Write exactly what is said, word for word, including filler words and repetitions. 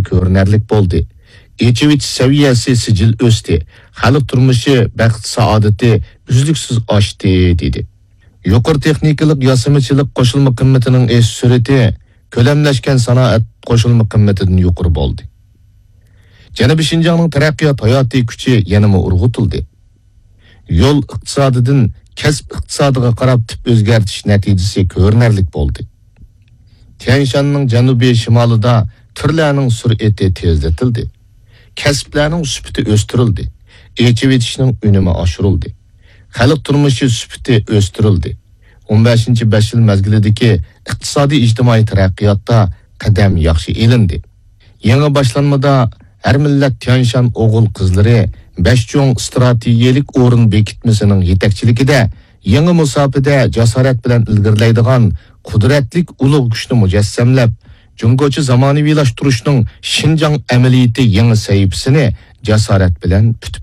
كۆرۈنەرلىك بولدى. ئېچىۋېتىش سەۋىيەسى سىجىل ئۆستى. خەلق تۇرمۇشى، بەخت-سائادىتى ئۈزلۈكسىز ئاشتى، دېدى. يۇقىرى تېخنىكىلىق ياسىمىچىلىق قوشۇلما قىممىتىنىڭ ئېشىش سۈرئىتى كۆلەملەشكەن سانائەت قوشۇلما قىممىتىدىن يۇقىرى بولدى. جەنۇبىي شىنجاڭنىڭ تەرەققىيات ھاياتىي كۈچى يەنىمۇ ئۇرغۇتۇلدى. يول ئىقتىسادىدىن كەسىپ ئىقتىسادىغا قاراپ تىپ ئۆزگەرتىش نەتىجىسى كۆرۈنەرلىك بولدى. تيەنشاننىڭ جەنۇبىي شىمالىدا تۈرلەرنىڭ سۈرئىتى تېزلىتىلدى. كەسىپلەرنىڭ سۈپىتى ئۆستۈرۈلدى. ئېچىۋېتىشنىڭ ئۈنۈمى ئاشۇرۇلدى. خەلق تۇرمۇشى سۈپىتى ئۆستۈرۈلدى. ئون بەشىنچى بەش يىل مەزگىلىدىكى ئىقتىسادىي ئىجتىمائىي تەرەققىياتتا قەدەم ياخشى ئېلىندى. يېڭى باشلانمىدا ھەر مىللەت تيەنشان ئوغۇل-قىزلىرى بەش چوڭ ئىستراتېگىيەلىك ئورۇن بېكىتمىسىنىڭ يېتەكچىلىكىدە يېڭى مۇساپىدە جاسارەت بىلەن ئىلگىرىلەيدىغان قۇدرەتلىك ئۇلۇغ كۈچنى مۇجەسسەملەپ، جۇڭگوچە زامانىۋىلاشتۇرۇشنىڭ شىنجاڭ ئەمەلىيىتى يېڭى سەھىپىسىنى جاسارەت بىلەن پۈتۈپ